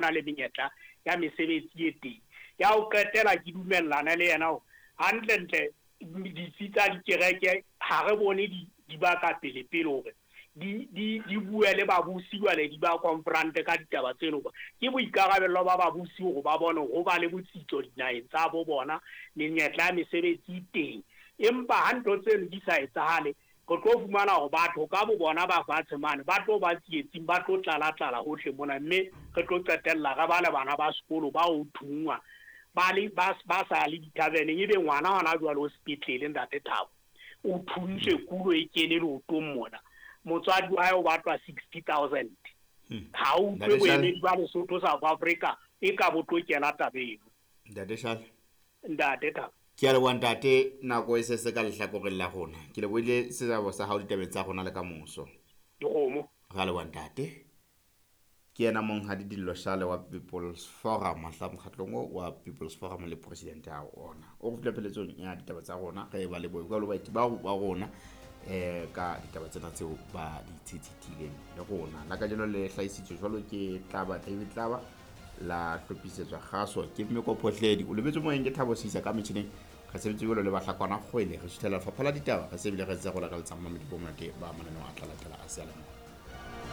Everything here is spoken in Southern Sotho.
Na le menyetla ya mesebetsi e teng. Ya ho qetela ke dumellana le yena hore hantlentle ditsi tsa dikereke ha re bone di di ba ka pele pele hore di di di bue le babusi jwale di ba confront ka ditaba tseno hoba ke boikarabello ba babusi hore ba bone hore ho ba le botsitso dinaheng tsa bo bona, menyetla ya mesebetsi e teng. Empa ha ntho tseno di sa etsahale Re tlo fumana hore batho ka bo bona ba fatshe mane ba tlo ba tsietsing, ba tlo tlala-tlala hohle mona, mme re tlo qetella re ba le bana ba sekolo ba ho thunngwa ba le, ba, ba sa le dithaveneng. Ebe ngwana hona jwale o sepetlele, Ntate Thabo, o thuntswe kulo e kene leotong mona, motswadi wa hae o batlwa 60,000. Ha o utlwe boemedi ba Lesotho South Africa e ka bo tlo kena tabeng. Ntate Shale. Ntate Thabo. Ke a leboha ntate, nako e se se ka lehlakoreng la rona. Ke lebohile seabo sa hao ditabeng tsa rona le ka moso. Dikgomo. Ra leboha ntate. Ke yena monghadi Dillo Shale wa People's Forum, mahla mokgatlong o wa People's Forum le president ya ona. O re fihla pheletsong ya ditaba tsa rona, re ba lebohe jwalo baeti bao ba rona eh ka ditaba tsena tseo ba di tshitshithileng le rona. La kajeno le hlahisitswe jwalo ke Tlaba David Tlaba. La hlophisetswa kgaso ke Mmeko Phohledi. O lebetse moyeng ke Thabo Sisa ka metjhineng. Re sebetse jwalo le Bahlakwana Kgwele. Re suthela lefapha la ditaba. Re se bile re ntse re o lakaletsang mamedi bo monate ba mananeo a tla latela a seyalemoya.